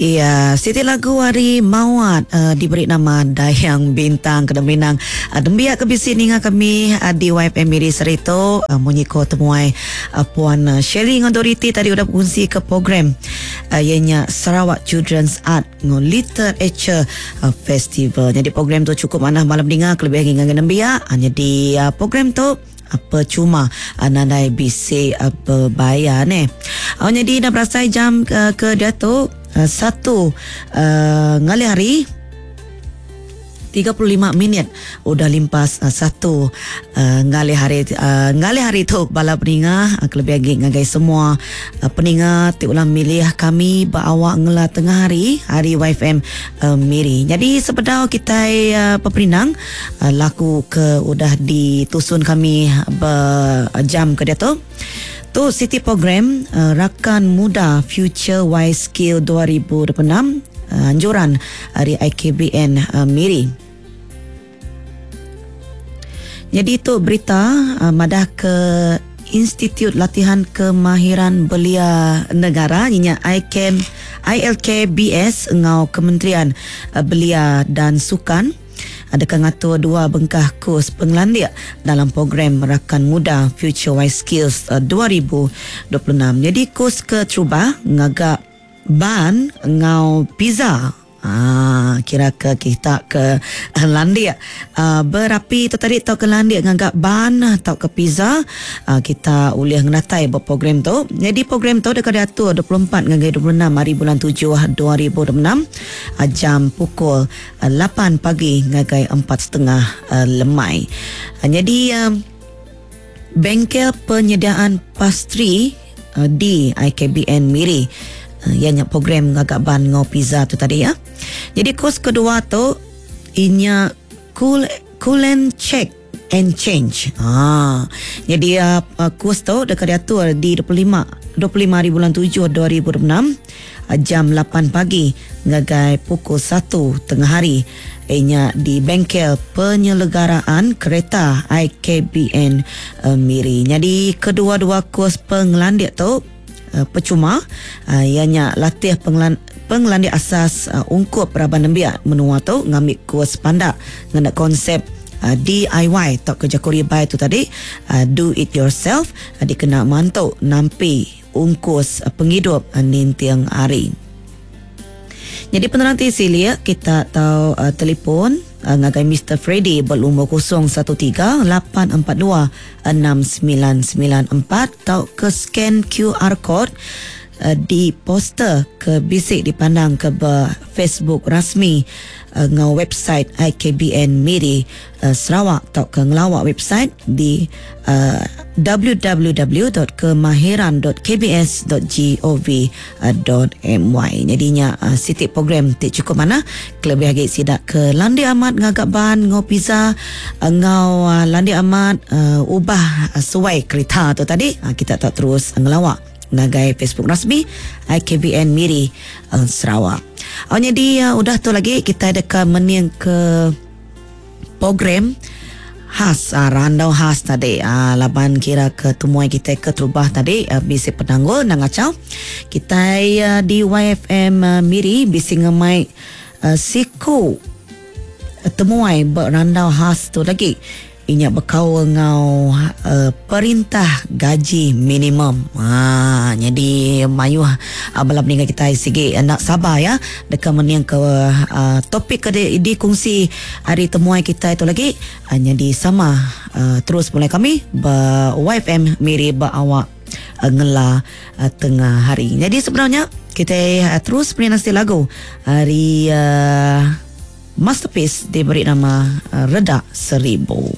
Iya, siti lagu ari Mawat uh, diberi nama Dayang Bintang kena minang uh, nembiak ke bisi ninga kami uh, di YFM Miri sehari tu uh, munyi ko temuai uh, Puan uh, Shirley enggau Dorothy tadi udah bekunsi ke program uh, iya nya Sarawak Children's Art enggau Literature uh, Festival. Jadi program tu cukup manah malam ninga kelebih agi ngagai nembiak. Uh, jadi uh, program tu percuma nadai bisi bebayar neh. Au nyadi dah berasai jam ke, ke diatu satu ngalih hari 35 minit udah limpas satu ngalih hari ngalih hari tu bala peninga kelebih agi ngagai semua peninga ti ulah milih kami ba awak ngela tengah hari hari YFM Miri. Nyadi sebedau kitai peperindang Laku ke udah ditusun kami ba jam ke diatu. Tu siti program Rakan Muda Future Wise Skill 2026 anjuran ari IKBN Miri. Nyadi tu berita madah ke Institut Latihan Kemahiran Belia Negara inya IKM ILKBS enggau Kementerian Belia dan Sukan deka ngatur dua bengkah kus pengelandik dalam program Rakan Muda Future Wise Skills 2026. Nyadi kus keterubah ngaga ban enggau pizza. Haa kira ke kita ke landik berapi tu tadi tauka landik ngaga ban tauka pizza kita ulih ngenatai ba program tu. Nyadi program tu deka diatur 24 ngagai 26 hari bulan tujuh 2026 jam pukul lapan pagi ngagai empat setengah lemai. Nyadi bengkel penyediaan pastri di IKBN Miri iya nya program ngaga ban enggau pizza tu tadi ya. Nyadi kus kedua tu inya cool cool and check and change. Ha. Nyadi kus tu deka diatur di 25 25 hari bulan 7 2026 jam lapan pagi ngagai pukul satu tengah hari iya nya di Bengkel Penyelegaraan Kereta IKBN Miri. Nyadi kedua-dua kus pengelandik tu pechuma iya nya latih pengelandik asas ungkup raban nembiak menua tu ngambi kus pandak ngena konsep DIY tauka jaku ribai tu tadi do it yourself dikena mantu nampi ungkus pengidup ninting hari. Nyadi penerang ti silik kita tau telefon ngagai Mister Freddy ba lumur 013 842 6994 tauka scan QR code di poster ke bisi dipandangka ba Facebook rasmi enggau website IKBN Miri Sarawak tauka ngelawa website di www.kemahiran.kbs.gov.my. Nyadi nya siti program ti chukup manah kelebih agi sida ke landik amat ngaga ban enggau pizza enggau landik amat ubah suai kerita tu tadi kita tau terus ngelawa ngagai Facebook rasmi IKBN Miri Sarawak. Nyadi udah tu lagi kitai deka mening ke Program khas randau khas tadi laban kira ke temuai kitai ke terubah tadi bisi penanggul enda ngachau kitai di YFM Miri bisi ngemai siku temuai ba randau khas tu lagi. Inya bekaul enggau perintah gaji minimum. Haa nyadi mayuh bala peninga kitai sigi enda sabar ya deka mening ke topik ke dikongsi ari temuai kitai tu lagi nyadi sama terus mulai kami ba YFM Miri ba awak ngela tengah hari. Nyadi sebenarnya kitai terus meri nasi lagu ari Masterpiece diberi nama Redak Seribu.